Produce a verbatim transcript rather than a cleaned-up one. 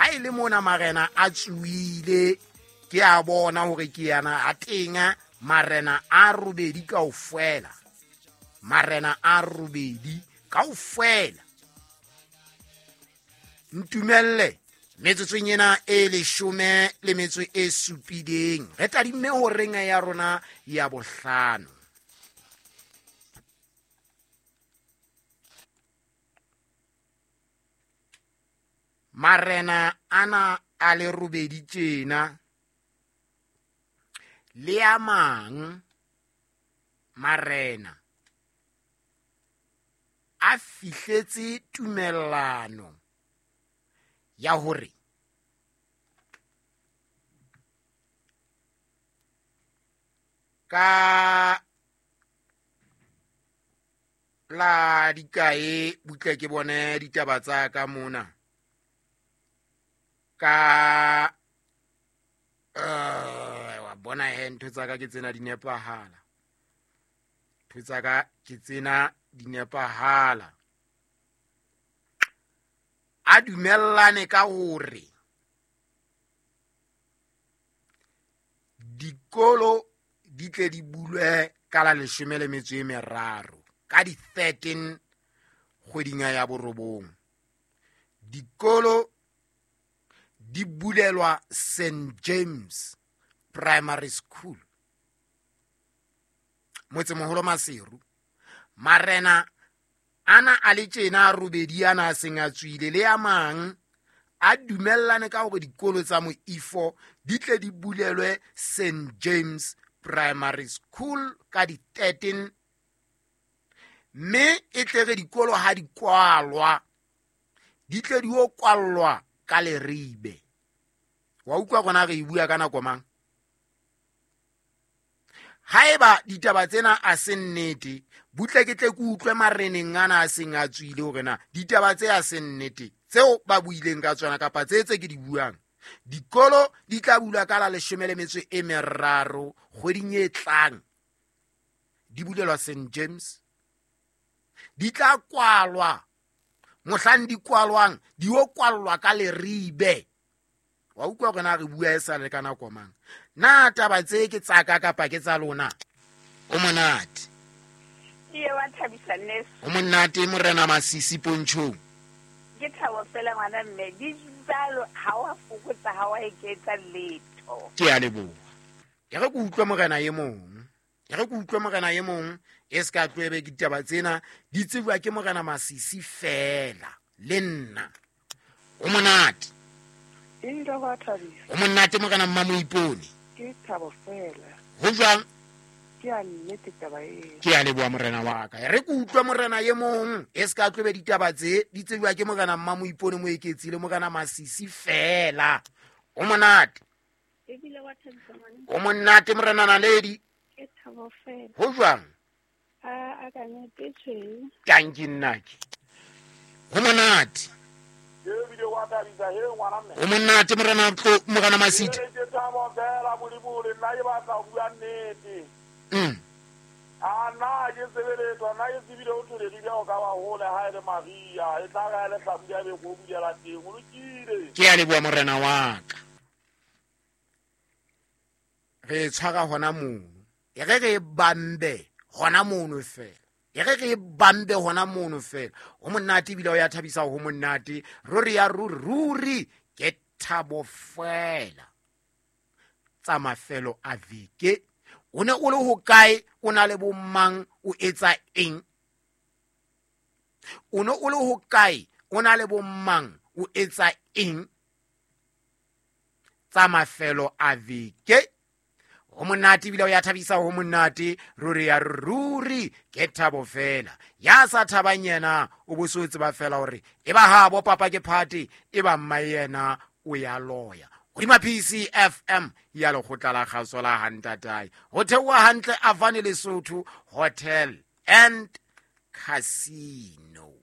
Ha e le mona marena a tsuile ke a bona hore ke yana a teng marena a robedi kaofela. Marena a robedi kaofela. Ntumelle metsotsong ena e leshome le metso e supileng re tadimme horeng ya rona ya bohlano. Marena ana a le robedi tjena le a mang marena a fihletse tumellano ya hore ka la dikae butle ke bone ditaba tsa ka mona ka uh, wa bona he ntho tsa ka ke tsena di nepahala ntho tsa ka ke tsena di nepahala a dumellane ka hore dikolo di tle di bulwe ka la leshome le metso e meraro ka di thirteen kgweding ya borobong. Dikolo di bulelwa Saint James Primary School motsemoholo Maseru. Marena ana a le tjena a robedi ana a seng a tswile le a mang a dumellane ka hore dikolo tsa moifo di tle di bulelwe Saint James Primary School ka di thirteen mme e tle re dikolo ha di kwalwa di tle di o kwallwa ka leribe. Wa utlwa rona re e bua ka nako mang? Haeba ditaba tsena a se nnete butle ke tle ke utlwe mareneng ana a seng a tswile hore na ditaba tse a se nnete tseo ba buileng ka tsona kapa tse tse ke di buang. Dikolo di tla bulwa ka la leshome le metso e meraro kgweding e tlang di bulelwa Saint James di tla kwalwa mohlang di kwalwang di o kwallwa ka leribe. Wa utlwa rona re bua e sa le ka nako mang? Na taba tse ke tsa ka kapa ke tsa lona? O monate. Ke wa thabisa nnes. O monate morena Masisi Pontshong. Ke thabo fela ngwana mme di jalo ha wa fokotsa ha wa eketsa letho. Ke a leboha. Ke re ke utlwe morena e mong. Ke re ke utlwe morena e mong e ska tloebe ke ditaba tsena di tsejwa ke morena Masisi fela le nna. O monate. O monate morena Mmamoipone. Ke thabo fela. Ho jwang? Ke a nnete taba eo. Ke a leboha morena wa ka. Re ke utlwe morena e mong e ska tloebe ditaba tse di tsejwa ke morena Mmamoipone Moeketsi le morena Masisi fela. O monate. Ebile wa thabisa ngwana. O monate morena Naledi. Ke thabo fela. Ho jwang? A a ka nete tjhe. Tanki nnake. Ho monate. O monate morena morena Masiti. Mm. A na ke sebeletsa na ke tsebile o thole di o ka wa hole ha ile Maria e tla ga le hlabula be go bulela teng o lokile. Ke a leboha morena wa ka. Re tshwara hona mono. E re re bambe hona mono fela. E re re bambe hona mono fela. O monate ebile o ya thabisa ho monate. Ruri ya ruri ruri ke thabo fela. Tsa mafelo a veke. O ne o le hokae, o na le bomang, o etsa eng? O ne o le hokae, o na le bomang, o etsa eng? Tsa mafelo a veke. Ho monate ebile o ya thabisa ho monate ruri ya ruri ke thabo fela. Ya sa thabang yena o bo so tseba fela hore e ba habo papa ke party e ba mma yena o ya loya. Hodima P C F M ya lekgotla la kgaso la Hantatae. Ho theoha hantle Avani Lesotho Hotel and Casino.